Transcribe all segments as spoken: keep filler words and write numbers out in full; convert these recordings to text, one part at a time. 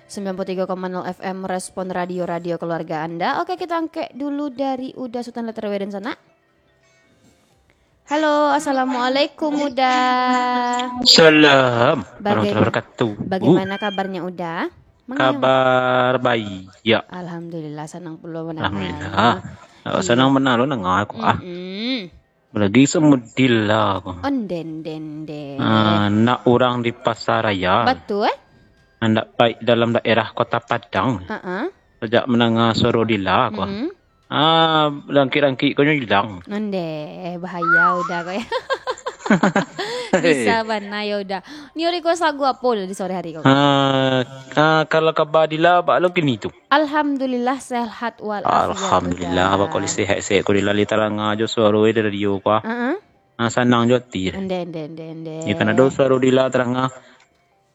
sembilan puluh tiga koma nol F M Respon Radio, radio keluarga Anda. Oke, kita angkek dulu dari Uda Sutan Letter W dan sana. Halo, assalamualaikum, Uda. Salam Baga- warahmatullahi wabarakatuh. Bagaimana kabarnya, Uda? Mangayang. Kabar baik, ya. Alhamdulillah, sanang pulo mandanga. Alhamdulillah. Awak sanang bana lo mandanga ko, ah. Mm-mm. Lagi samudila ko. Onde, onde, onde. Ah, nak urang di pasaraya. Batua, eh? Andak paik dalam daerah Kota Padang. Heeh. Sajak mandanga suaro Dila ko. Mm-mm. Ah, rangkik-rangkik ko nyo ilang. Onde, bahaya Uda ko, ya. Bisa bana yo Uda. Nio request lagu apo Uda di sore hari ko? Ah, ah, kalau kaba Dila, baa lo kini tu? Alhamdulillah, sehat walafiat, Alhamdulillah, Uda. Baa kok lai sehat-sehat ko Dila, lai taranga jo suaro di radio ko, ah. Heeh. Ah, sanang jo ati. Onde, onde, onde, onde. Yo kan ado suaro Dila taranga.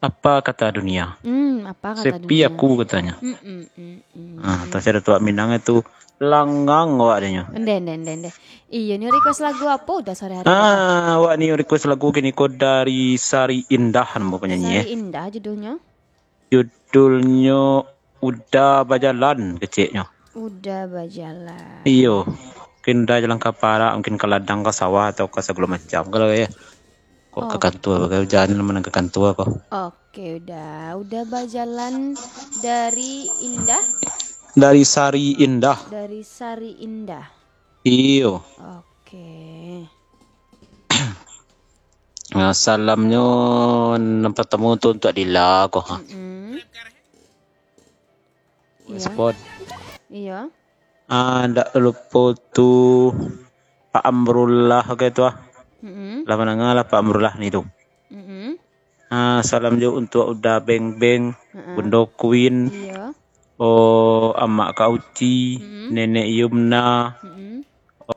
Apa kata dunia? Hmm, apa kata dunia? Sepi aku, katanyo. Mm, mm, mm, mm. Ah, tasada tu awak Minang tu langang awak dinyo. Onde, onde, onde, onde. Iyo, nio request lagu apo Uda sore hari ko? Ah, awak nio request lagu kini ko dari Sari Indah, namo penyanyi, eh. Sari Indah judulnyo? Judulnyo Uda Bajalan, keceknyo. Uda Bajalan. Iyo. Mungkin Uda jalan ka parak, mungkin ka ladang, ka sawah, atau ka sagalo macam, kalau ya. Kok ka kantua, bagai ujan, mana ka kantua ko. Oke, Uda. Uda Bajalan dari Indah? Dari Sari Indah. Dari Sari Indah. Iyo. Oke. Nah, salamnyo nan partamo tu untuak Dila ko, ha. Mm-mm. Iyo. Respon. Iyo. Ah, ndak lupo tu Pak Amrullah, oke tu, ah. Mm-mm. Lah mandanga lah Pak Amrullah ni tu. Mm-mm. Ah, salam jo untuak Uda Beng Beng, mm-mm, Bundo Queen, iyo, oh, Amak Kak Uci, mm-mm, Nenek Yumna, mm-mm,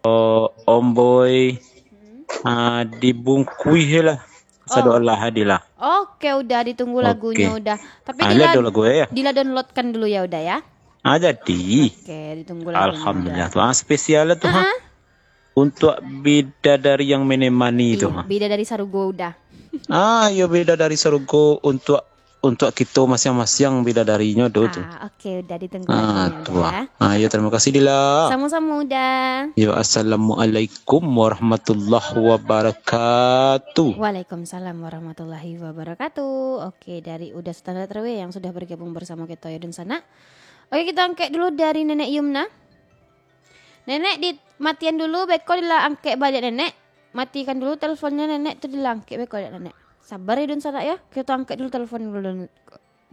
oh, Om Boy, mm-mm, ah, dibungkuih lah. Sado, oh, lah, Dila. Oke, Uda, ditunggu, oke, lagunyo Uda. Tapi ah, Dila, lihat dulu lagu ya. Dila downloadkan dulu ya Uda ya. Ah, jadi. Oke, ditunggu lagunyo Uda. Alhamdulillah. Tu, ah, spesial lah tu, ha. Aha. Untuak bidadari yang menemani tu, iyo, ha. Bidadari sarugo Uda. Ah, iyo, bidadari sarugo untuak, untuak kito masiang-masiang bidadarinyo do tu. Ah, oke, Uda, ditunggu lagunyo Uda. Ah, iyo, terima kasih, Dila. Samo-samo, Uda. Yo, assalamualaikum warahmatullahi wabarakatuh. Waalaikumsalam warahmatullahi wabarakatuh. Oke, dari Uda Sutan Letter W yang sudah bergabung bersamo kito yo dunsanak. Oke, kito angkek dulu dari Nenek Yumna. Nenek, dimatian dulu, beko Dila angkek baliak, Nenek. Matikan dulu telponnyo, Nenek, tu Dila angkek beko baliak, Nenek. Sabar yo dunsanak yo. Kito angkek dulu telpon dulu,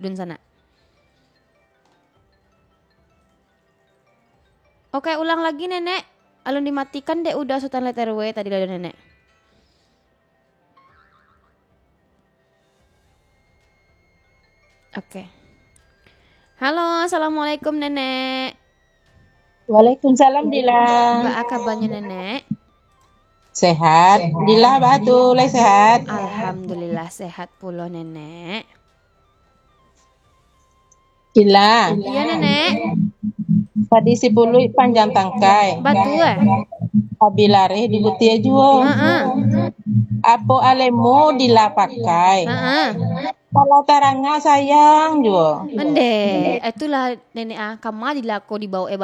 dunsanak. Oke, ulang lagi, Nenek. Alun dimatikan dek Uda Sutan Letter W tadi lah, Nenek. Oke. Halo, assalamualaikum, Nenek. Waalaikumsalam, Dila. Baa kabanyo, Nenek? Sehat. Dila baa tu, lai sehat? Alhamdulillah, sehat pulo, Nenek. Dila. Iyo, Nenek. Tadi si Buluik panjang tangkai. Batua. Abi lareh di butia juo. Heeh. Apo alemu Dila pakai. Heeh. Kalau taranga sayang juo. Ende, itulah Nenek ah, kama Dila ko dibaok eh